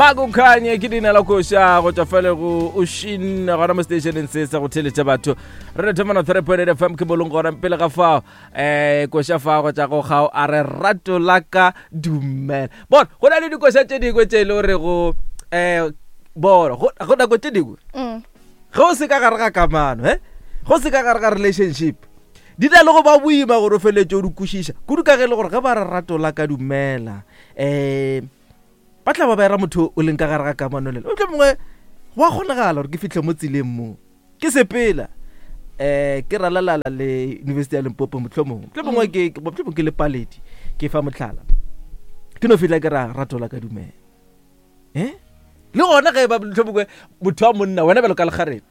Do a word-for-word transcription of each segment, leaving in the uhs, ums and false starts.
Makukhanye ke leina la koša go tšwa fale go Oshin gona mo stationeng se sa go theletša batho re thomana three point eight F M ke bolong gona pele ga fao um koša fa go tša go gao a re rato la ka dumela. Bona go na le dikoša tše dingwe tše e le gore go um bona go nako tše dingwe ge o se ka gare ga kamano he go se ka gare ga relationship di na le go ba boima gore o feletse o di kwešiša kudu ka ge e le gore ge ba re rato la ka dumela um ba tla ba ba era motho o leng ka gare ga kamano lela o tlo mongwe wa kgonagala gore ke fitlhe mo tseleng mo ke sepela um ke ralalala le University ya Limpopo mohlomongwe mohlomongwe ke mohlomongwe ke le paledi ke fa mohlala ke no fihla ke ra rato la ka dumela eh le gona ge ba mohlomongwe motho wa monna wena bjalo ka lekgarebe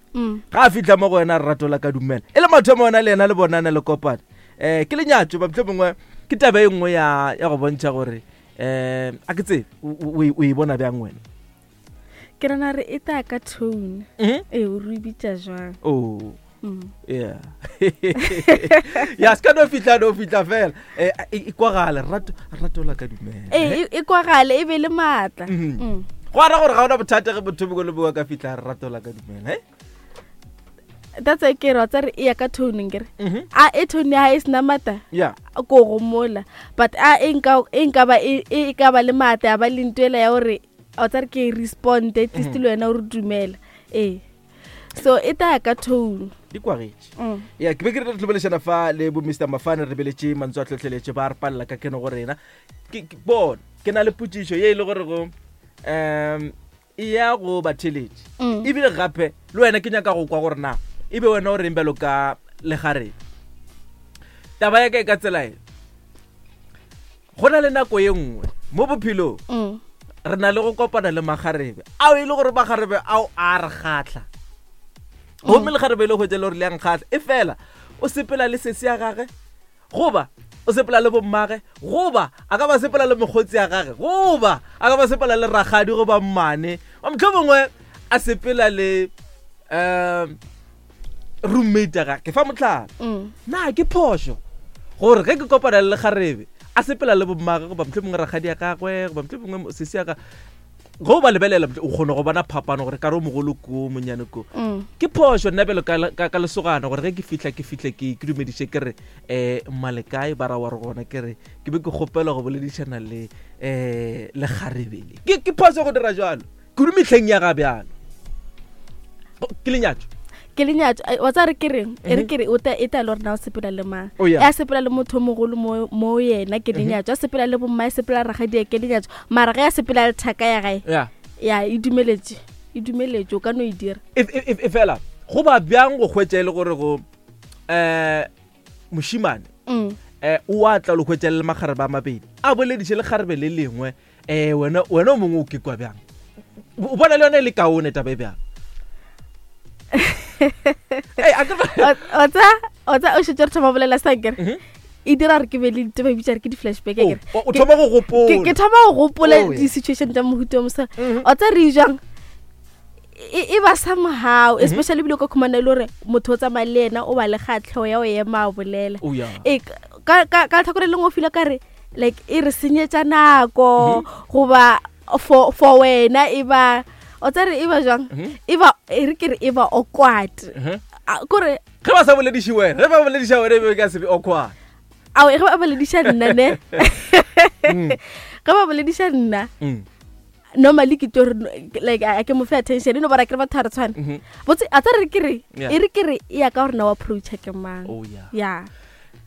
ga a fihla mo go wena rato la ka dumela e le mathomo wena le yena le bonana le kopana um ke lenyatšo ba mohlomongwe ke taba e nngwe ya ya go bontšha gore um a ke tsebe o e bona bjang wena? Ke rena re e taya ka tone ee o re bitša jwang. Oh yeah ya se ka no fihla no fihla fela e kwagale rato rato la ka dumela ee e kwagale e be le maatla go ara gore ga ona bothata ge motho bongwe le bongwe ka fihla rato la ka dumela eh that's why ke re wa tsare e ya ka tone nkere a e tone ya e sena maatla ko go mola but a e nka e nka ba e ka ba le maatla ya ba le ntwela ya gore wa tsare ke respond at least le wena o re dumela ee so e taya ka tone di kwagetše. Ya ke be ke re re tlobelešana fa le bo Mister Mafane re beletše mantswe a tlhotlheletše ba re palela ka keno go rena ke bona ke na le potšišo ye e le gore go um e ya go batheletše ebile gape le wena ke nyaka go kwa gore na e be wena o reng bjalo ka legareng. Taba ya ka e ka tsela e go na le nako ye nngwe mo bophelong re na le go kopana le magarebe ao e le gore magarebe ao a re kgatlha gomme lekgarebe le hwetša le gore le yang kgatlha e fela o sepela le sesi ya gage goba o sepela le bommage goba a ka ba sepela le mokgotsi ya gage goba a ka ba sepela le rakgadi goba mmane mohlomongwe a sepela le um roommate ya gage ke fa mohlala na ke phošo gore ge ke kopana le lekgarebe a sepela le bommage goba mohlomongwe rakgadi ya gagwe goba mohlomongwe sesi ya gagwe go ba lebelela o kgone go bona phapano gore ka re o mogolo ko monyane ko ke phošo nna bjalo ka ka lesogana gore ge ke fihla ke fihle ke ke dumediše ke re um mmalekae ba ra wa re gona ke re ke be ke kgopela go boledišana le um lekgarebele ke ke phošo go dira jalo kudu mehleng ya ga bjalo ke lenyatšo ke lenyatšo wa tsa re ke reng e re ke re o ta e ta le gore na o sepela le mang ya sepela le motho o mogolo mo mo yena ke lenyatšo a sepela le bomma e sepela rakgadi ke lenyatšo mara ge a sepela le thaka ya gae ya e dumeletše e dumeletše o ka no e dira e fela go ba bjang go hwetša e le gore go um mošimane um o a tla le hwetša le magarebe a mabedi a bolediše lekgarebe le lengwe um wena wena o mongwe o ke kwa bjang o bona le yone e le kaone taba e bjang? O tsa o tsa o šetše re thoma bolela sankere e dira gore ke be le ditaba bitša re ke di-flashback akere o thoma go gopola ke thoma go gopola di-situation tša mohuta o mosa o tsa re jang e ba somehow especially bile ka khumana le gore motho o tsamaya le yena o ba le kgatlhego ya o ema a bolela e ka ka ka tlhakore lengwe o fila ka re like e re senyetša nako goba for for wena e ba o tsare e ba jwang e ba e re ke re e ba awkward kore ge ba sa bolediše wena ge ba bolediša wena e be ka se be awkward ao ge ba bolediša nna ne ge ba bolediša nna normally ke tlo like a ke mo fe attention no bara ke re batho re tshwana botse a tsare ke re e re ke re e ya ka gore na wa approach ke mang ya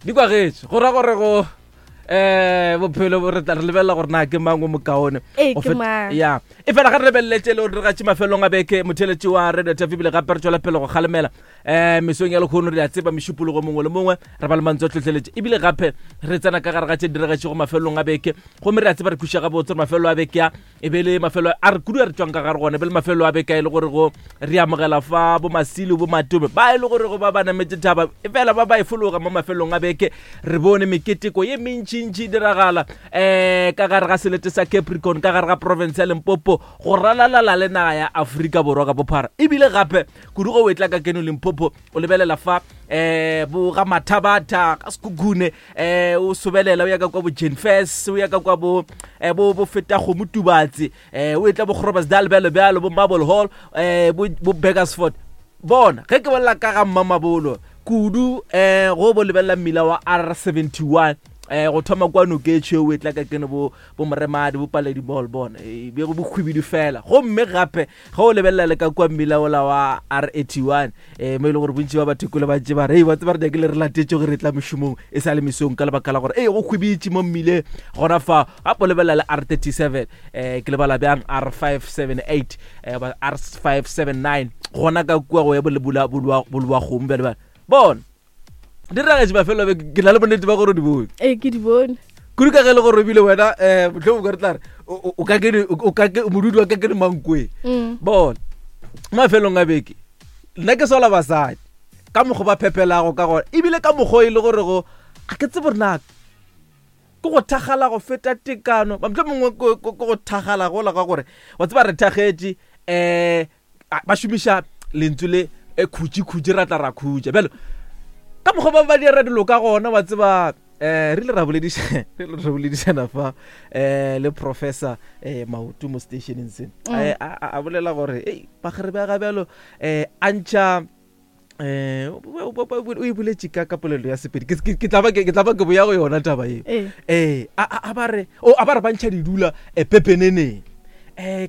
di kwagetše go ra gore go eh bophelo bo re tla re lebelela gore na ke mang o mokaone ya e fela ga re lebeleletse le gore re gatše mafelong a beke motheletši wa Radio T V bile gape re tswela pele go kgalemela um mesong ya lekgono re a tseba mešupologo mongwe le mongwe re ba le mantswe a tlhotlheletše ebile gape re tsena ka gare ga tše diregetšego mafelong a beke gomme re a tseba re kweša gabotse gore mafelo a beke a e be le mafelo a re kudu a re tswang ka gare gona e be le mafelo a beke a e le gore go re amogela fa bo Masilo bo Matome ba e le gore go ba ba nametse thaba e fela ba ba e fologa mo mafelong a beke re bone meketeko ye mentši ntšintši diragala um ka gare ga selete sa Capricorn, ka gare ga province ya Limpopo, go ralalala le naga ya Afrika Borwa ka bophara. Ebile gape kudu go etla ka keno Limpopo, o lebelela fa um bo ga Mathabatha ka Sekhukhune, um o sobelela o ya ka kwa bo Jenfes, o ya ka kwa bo bo bo feta kgomo Tubatse, um o etla bo Groblersdal bjalo bjalo, bo Marble Hall, um bo Burgersfort. Bona ge ke bolela ka ga Mmamabolo kudu, um go bo lebelela mmila wa R seventy-one, um go thoma kwa Noketšhe o etla ka kene bo bo Moremadi, bo Paledi Mall, bona e be go bokhwibidu fela. Gomme gape ge o lebelela le ka kwa mmila ola wa R eighty-one, um mo e le gore bontši ba batho kole ba ntše ba re, ba tseba re nyakile re latetše gore re tla mešomong e sa le mesong ka lebaka la gore ee go khwibitše mo mmileng gona fa. Gape o lebelela le R thirty-seven, um ke lebala bjang R five seven eight, um R five seven nine, gona ka kua go ya bolowa kgomo bjale bjale. Bona di ragetše mafelo a beke, ke na le bonnete ba gore o di bone. Ee, ke di bone. Kudu ka ge le gore ebile wena, um mohlomongwe ka re tla re, o ka ke, o ka ke, modudi wa ka ke Mankweng. Bona mafelong a beke nna ke sola basadi ka mokgwa ba phepelago ka gona, ebile ka mokgwa e le gore go ga ke tsebe gore na ke go thakgala go feta tekano, mohlomongwe ke go thakgala gola ka gore wa tseba re thakgetše, um ba šomiša lentswe le khutši khutši ra tla ra khutša bjalo ka mokgwa ba ba dira dilo ka gona. Wa tseba um re ile ra boledišana, re ile ra boledišana fa um le professor um Maoto mo stationeng se, a bolela gore ei bagare ba ga bjalo um a ntšha um o e boletše ka ka polelo ya Sepedi, ke tla ba ke tla ba ke boya go yona taba eo. Ee, a ba re o a ba re ba ntšha didula pepeneneng, um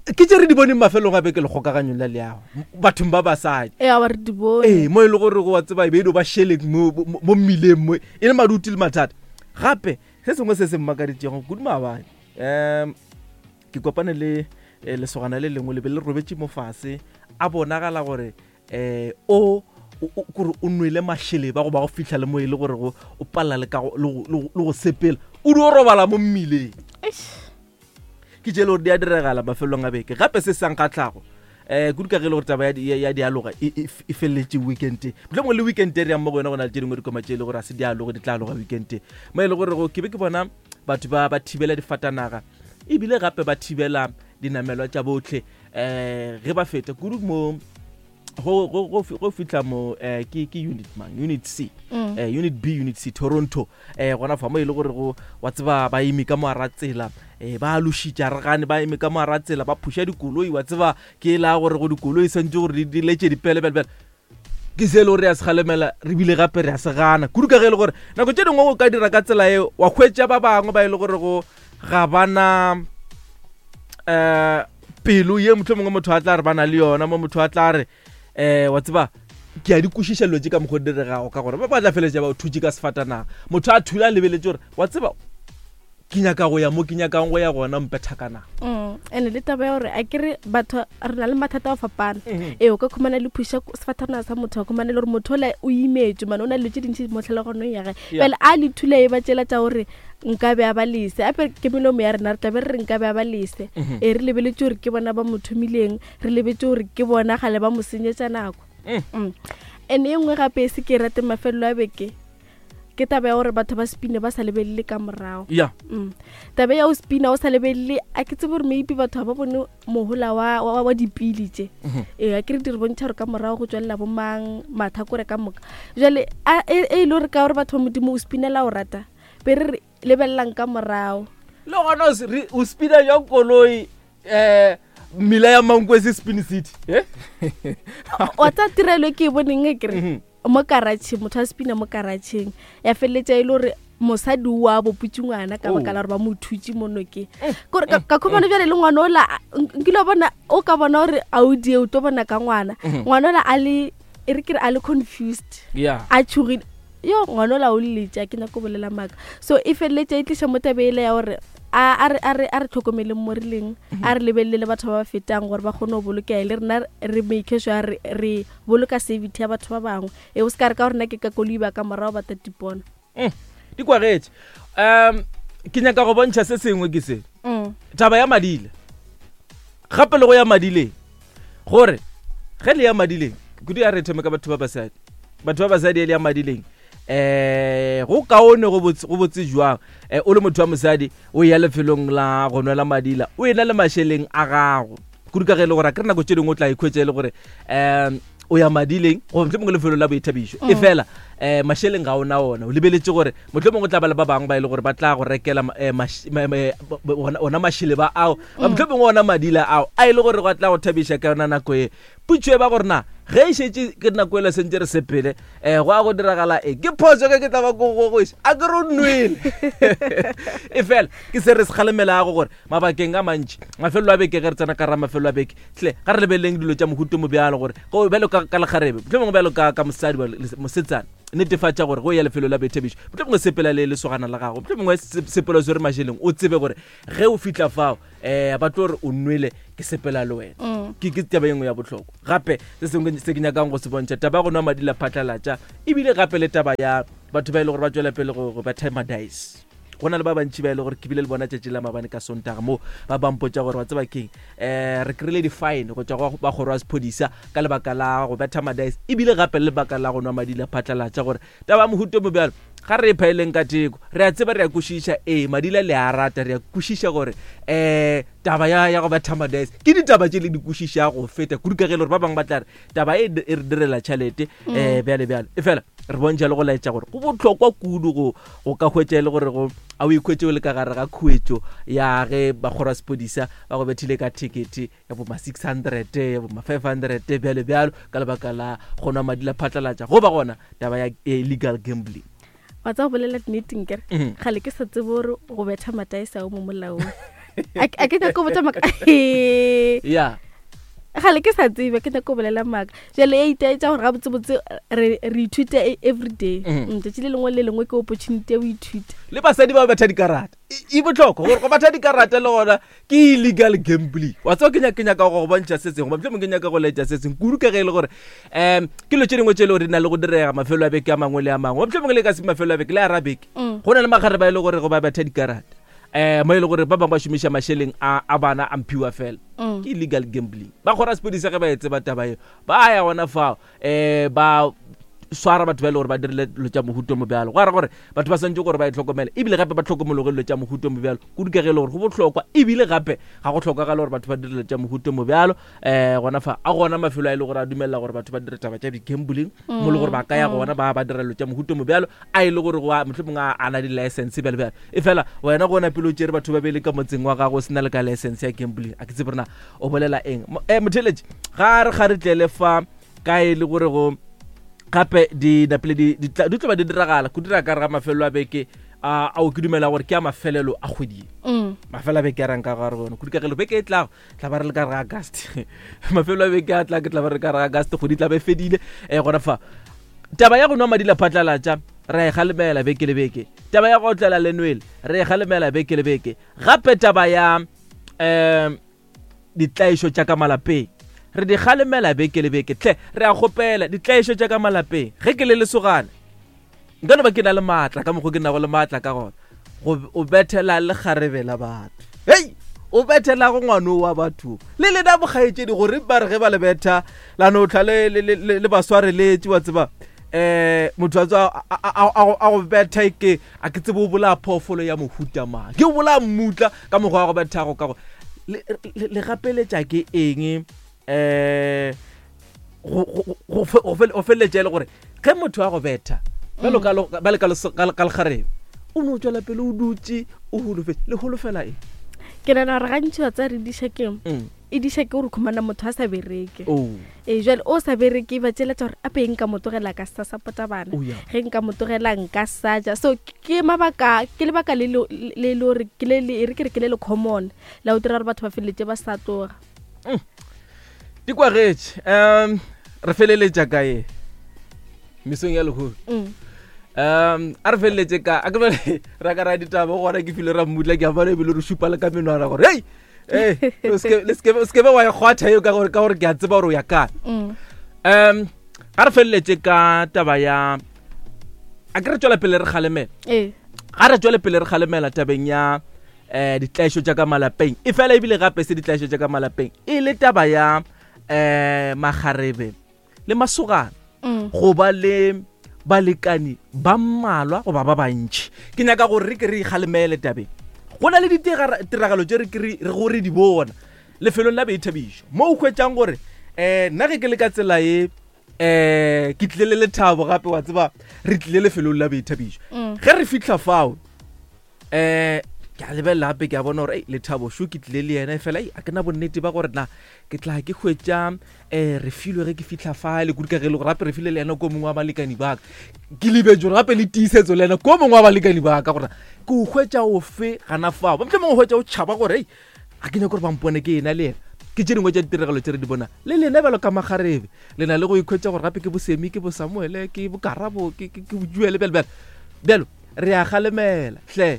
ke tše re di boneng mafelong a beke lekgokaganyong la leago bathong ba basadi. Ee, a ba re di bone. Ee, mo e le gore go wa tseba e be e no ba šeleng mo mo mmileng mo e le maduti le mathata. Gape se sengwe se se mmakaditšego kudu maabane, um ke kopane le lesogana le lengwe le be le robetše mo fase, a bonagala gore um o kore o nwele mašeleba goba go fihla le mo e le gore go o palela le ka le go sepela, o di o robala mo mmileng. Ke tše le gore di a diregala mafelong a beke. Gape se sa nkgatlhago um kudu ka ge e le gore taba ya dialoga e feleletše weekend, mohlomongwe le weekend e re yang mo go yona go na le tše dingwe dikoma tše e le gore a se dialogo di tla aloga weekend, mo e le gore ke be ke bona batho ba ba thibela difatanaga ebile gape ba thibela dinamelwa tša botlhe um ge ba feta kudu mo go go go fihla mo eh ke ke unit mang, unit C, eh unit B, unit C Toronto, eh gona fa mo e le gore go wa tseba ba eme ka mo ara tsela, eh ba lošitša re gane ba eme ka mo ara tsela ba phusha dikoloi, wa tseba ke la gore go dikoloi santse gore di letse dipele bele bele ke se le gore re a se galemela re bile gape re a se gana kudu ka ge e le gore nako tše dingwe o ka dira ka tsela eo wa hwetša ba bangwe ba e le gore go ga bana eh pelo ye mohlomongwe motho a tla re ba na le yona mo motho a tla re eh wa tseba ke a di kwešiša dilo tše ka mokgwa o diregago ka gore ba ba tla feletša ba o thutše ka sefatanaga, motho a thula a lebeletse gore wa tseba ke nyaka go ya mo ke nyakang go ya gona mpethakana. Ene le taba ya gore a kere batho re na le mathata a go fapana, ee o ka khumana le phuša sefatanaga sa motho, wa khumana le gore motho ola o imetše mane o na le dilo tše dintši mo tlhaloganong ya gae, bjale a le thula e ba tšela tša gore nka be a ba lese, ape ke melomo ya rena re tla be re re nka be a ba lese. Ee, re lebeletse gore ke bona ba mo thomileng, re lebetse gore ke bona gale ba mo senyetša nako. Ene e nngwe gape e se ke e rate mafelelo a beke ke taba ya gore batho ba spine ba sa lebelele ka morago. Yeah. Mm. Taba ya o spina o sa lebelele, a ke tsebe gore maybe batho ba bone mohola wa wa, wa dipili tše. Ee, a ke re di re bontšha gore ka morago go tswelela bomang mathakore ka moka. Jwale a e e le gore ka gore batho ba Modimo o spinela o rata, be re re lebelelang ka morago. Le gona o spina jang koloi eh mmila ya Mankweng Spin City? Eh? Wa tsa tirelo e ke e boneng e kere mo karatšheng, motho a spina mo karatšheng ya feleletša e le gore mosadi wa boputše ngwana ka baka la gore ba mo thutše mo nokeng. Kore ka khumana bjale le ngwana ola nkile bona o ka bona gore a o die o tlo bona ka ngwana, ngwana ola a le e re ke re a le confused, a tšhogile, yo ngwana ola o lletša ke nyako bolela maaka. So e feleletša e tliša mo tabe ele ya gore a re a re a re tlhokomeleng mo re leng, a re lebelele batho ba ba fetang gore ba kgone go bolokega, le rena re make sure re re boloka safety ya batho ba bangwe. E o se ka re ka gore nna ke ka koloi ba ka morago ba tatipona. Di kwagetše. Um ke nyaka go bontšha se sengwe ke se taba ya madile, gape le go ya madileng, gore ge le ya madileng kudu ya re thome ka batho ba basadi, batho ba basadi e le ya madileng Eh go kaone go botse go botse jwang eh o le motho wa mosadi o ya lefelong la go nwela madila o ena le mašeleng a gago kudu ka ge e le gore a ke re nako tše dingwe o tla ikhwetša e le gore um o ya madileng goba mohlomongwe lefelo la boithabišo e fela um mašeleng ga ona ona o lebeletse gore mohlomongwe o tla ba le ba bangwe ba e le gore ba tla go rekela eh, maš- ma- ma- ona- ona mašeleba ao ba mohlomongwe ona madila ao a e le gore go tla go thabiša ka yona nako e putšo e ba gore na ge e šetše ke nako ele sentse re sepele um go a go diragala e ke phoso ge ke tla ba ko gogoša a ke re o nwele e fela ke se re se kgalemelago gore mabakeng a mantši mafelo a beke ge re tsena ka ra mafelo a beke tle ga re lebeleleng dilo tša mohuto mo bjalo gore go bjalo ka ka lekgarebe mohlomongwe bjalo ka ka mosadi wa le- mosetsana netefatša gore go ya lefelo la boithabišo mohlomongwe sepela le lesogana la gago mohlomongwe se- sepela o swere mašeleng o tsebe gore ge o fihla fao um ba tlo re o nwele ke sepela le wena Mm. ke ke taba e nngwe ya bohlokwa gape se sengwe se ke nyakang go se bontšha taba ya go nwa madi la phatlalatša ebile gape le taba ya batho ba e le gore ba tswela pele go go betha madice go na le ba bantši ba e le gore ke bile le bona tšatši la mabane ka sontaga mo ba bampotša gore wa tseba keng um re kry-ile di-fine go tšwa go ba kgoro ya sephodisa ka lebaka la go betha madice ebile gape le lebaka la go nwa madi la phatlalatša gore taba ya mohuto mo bjalo ga re e phaeleng ka teko re a tseba re a kwešiša ee madila le a rata re a kwešiša gore um taba ya ya go betha madice ke ditaba tše le di kwešišago go feta kudu ka ge e le gore ba bangwe ba tla re taba e e re direla tšhelete um bjale bjale e fela re bontšha le go laetša gore go bohlokwa kudu go go ka hwetša e le gore go a o ikhwetše o le ka gare ga khuetšo ya ge bakgoro ya sepodisa ba go bethile ka ticket ya bo ma six hundred ya bo ma five hundred bjale bjalo ka lebaka la go nwa madi la phatlalatša go ba gona taba ya illegal gambling wa tsa go bolela nneteng kere Mhm. gale ke sa tsebe gore go betha mataese ao mo molaong a ke a ke nyako botsa maaka ya gale ke sa tsebe ke nyako go bolela maaka jale e itaetsa gore gabotsebotse re re ithuta e- everyday Mhm. Mm, tšatši le lengwe le lengwe ke opportunity ya go ithuta le basadi ba betha dikarata e e bohlokwa gore go betha dikarata le gona ke illegal gambling wa tseba ke nyaka ke nyaka go go bontšha se sengwe mohlomongwe ke nyaka go laetša se sengwe kudu ka ge e le gore um ke dilo tše dingwe tše e le gore di na le go direga mafelo a beke a mangwe le a mangwe mohlomongwe le ka se mafelo a beke le a beke Mm. go na le magare ba e le gore go ba betha dikarata um mo e le gore ba bangwe ba šomiša mašeleng a a bana a mphiwa fela Mm. ke illegal gambling ba kgora sepodisa ge ba e tseba taba eo ba ya gona fao um ba swara batho ba e le gore ba dirile dilo tša mohuto mo bjalo go ara gore batho ba swantse gore ba e tlhokomele ebile gape ba tlhokomologe dilo tša mohuto mo bjalo kudu ka ge e le gore go bohlokwa ebile gape ga go tlhokagala gore batho ba dire dilo tša mohuto mo bjalo um gona fa a gona mafelo a e le gore a dumelela gore batho ba dire taba tša di-gambling mo le gore ba ka ya gona ba ba dira dilo tša mohuto mo bjalo a e le gore go a- mohlomongwe a a na di-license bjalo bjalo e fela wena gona pele o tšere batho ba bele ka motseng wa gago o sena le ka license ya gambling a ke tsebe rena o bolela eng Mo- eh, motheletši ga re ga re tlele fa ka e le gore go gape di napile di di tla di tlo ba di diragala go dira ka re ga mafelelo a beke a ao ke dumela gore ke a mafelelo a kgwedi ye Mm. mafelo a beke a rang ka gare gona kudu ka gelo beke e tlago tla ba re le ka re ga august mafelo a beke a tla ke tla ba re ka re ga august kgwedi tla be e fedile um gona fa taba ya go nwa madi la phatlalatša re e galemela beke le beke taba ya go otlela lenwele re e galemela beke le beke gape taba ya um ditlaišo tša ka malapeng re di galemela beke le beke tle re a kgopela ditlaišo tša ka malapeng ge ke le lesogana nka no ba ke na le maatla ka mokgwa ke nago le maatla ka gona go o bethela le kgarebe la batho hei o bethela go ngwano wa batho le lena bokgaetšedi gore ba re ge ba le betha la no tlha le, le, le, le ba swareletše wa tseba um motho a tswa a- a a- a- a go betha e ke a ke tsebe o bolaya phoofolo ya mohuta mang ke o bolaya mmutla ka mokgwa wa go bethago ka go le le- le gapeletša ke eng um go go- go fe- go fel- go feleletša e le gore ge motho a go betha bjalo ka lo- bjalo ka leso- ka ka lekgarebe o no tswela pele o dutse o holofetse le holofela eng ke nagana gore gantši wa tsa re diša keng Mm. e diša ke gore khumana motho a sa bereke Oh. ee jale o sa bereke ba tšeletša gore ape nka mo tlogela ka sa support-a bana Oh, yeah. ge nka mo tlogela nka sa ja so ke mabaka ke lebaka le le le le gore ke le le e re ke re ke le le common la go dira gore batho ba feleletse ba sa tloga Di kwagetše um re feleletša kae mesong ya lehono Mm. um a re feleletše ka a ke bale ra ka ra ditaba gona ke file ra mmutla ke a bona ebile re šupa le ka menwana gore hei ee o seke- le seke- o sekebe wa e kgwatha eo ka gore ka gore ke a tseba gore o ya kae Mm. um ga re feleletše ka taba ya a ke re tswela pele re kgalemela ee ga re tswele pele re kgalemela tabeng ya um ditlaišo tša ka malapeng e fela ebile gape se ditlaišo tša ka malapeng e le taba ya um magarebe le masogana Mm. go ba le Balekani ba mmalwa goba ba bantši. Ke nyaka gore re ke re ikgalemele tabeng. Go na le ditiragalo tše re ke re go re di bona lefelong la boithabišo mo o hwetšang gore um nna ge ke le ka tsela ye um ke tlile le lethabo gape wa tseba re tlile lefelong la boithabišo. Ge re fitlha fao um ke a lebelela gape ke a bona gore lethabo šo ke tlile le yena fela a ke na bonnete ba gore na ke tla ke hwetša um re filwe ge ke fitlha fale kudu ka ge le gore gape re file le yena ko mongwe wa balekani ba ka. Ke lebetse gore gape le tiisetso le yena ko mongwe wa balekani ba ka gore ke o hwetša ofe gana fao. Ba mohlomongwe o hwetša o tšhaba gore a ke nyaka gore ba mpone ke ena le yena. Ke tše dingwe tša ditiragalo tše re di bona le lena bjalo ka makgarebe le na le go ikhwetša gore gape ke bosemi ke bosamuele ke bokarabo ke bojuele bjalo bjalo bjalo re a kgalemela hle.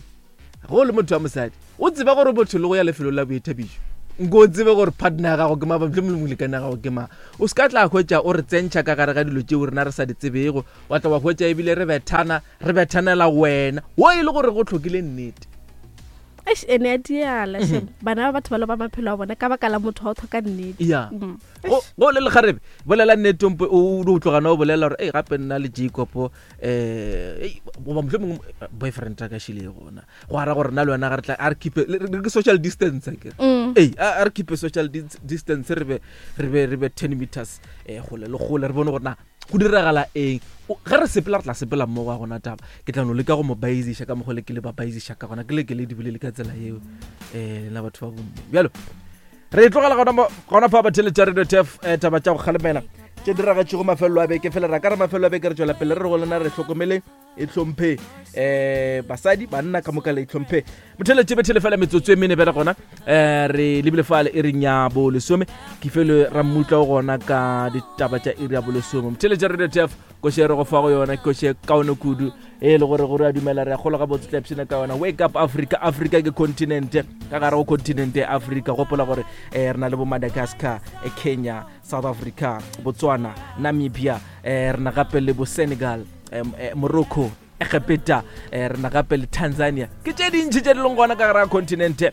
Go le motho wa mosadi o tseba gore motho le go ya lefelong la boithabišo nko o tsebe gore partner ya gago ke mang, mohlomongwe molekane ya gago ke mang. O se ka tla hwetša o re tsentšha ka gare ga dilo tšeo rena re sa di tsebego, wa tla wa hwetša ebile re bethana re bethanela wena wo e le gore go tlhokile nnete. Eish, ene ya diala shem. Bana ba batho ba loba maphelo a bona ka baka la motho wa o tlhoka nnete. Ya. Go go le lekgarebe bolela nnete ompo o o tlogana o bolela gore ei gape nna le Jacob eh goba mohlomongwe boyfriend a ka šile gona go ara gore nna le wena ga re tla a re keep re ke social distance ke ei a re keep social distance re be re be re be ten meters eh gole le gole re bone gore na go diragala eng. Ge re sepela re tla sepela mmogo a gona taba ke tla no leka go mo baisiša ka mokgwa le ke le ba baisiša ka gona ke le ke le di bolele ka tsela yeo um lena batho ba bomme. Bjalo re tlogela gona gona fa batheletša Radio Turf taba tša go kgalemela tše diragatšego mafelelo a beke fela ra ka re mafelelo a beke re tšwela pele re re go lena re hlokomele e hlomphe um basadi banna ka moka le itlhomphe. Motheletše bethele fela metsotso e mene bele gona um re lebile fale e reng ya bolesome ke fele ra mmutla o gona ka ditaba tša iri ya bolesome. Motheletše Radio Turf koše re go fa go yona koše kaone kudu e le gore gore a dumela re a kgolwa gabotse tla ipshina ka yona. Wake up Africa. Africa ke continent ka gare go continent ya Africa. Gopola gore um re na le bo Madagascar, Kenya, South Africa, Botswana, Namibia, um re na gape le bo Senegal, um, Morocco, Egepeta, re na gape le Tanzania. Ke tše dintši tše di leng gona ka gare ga continente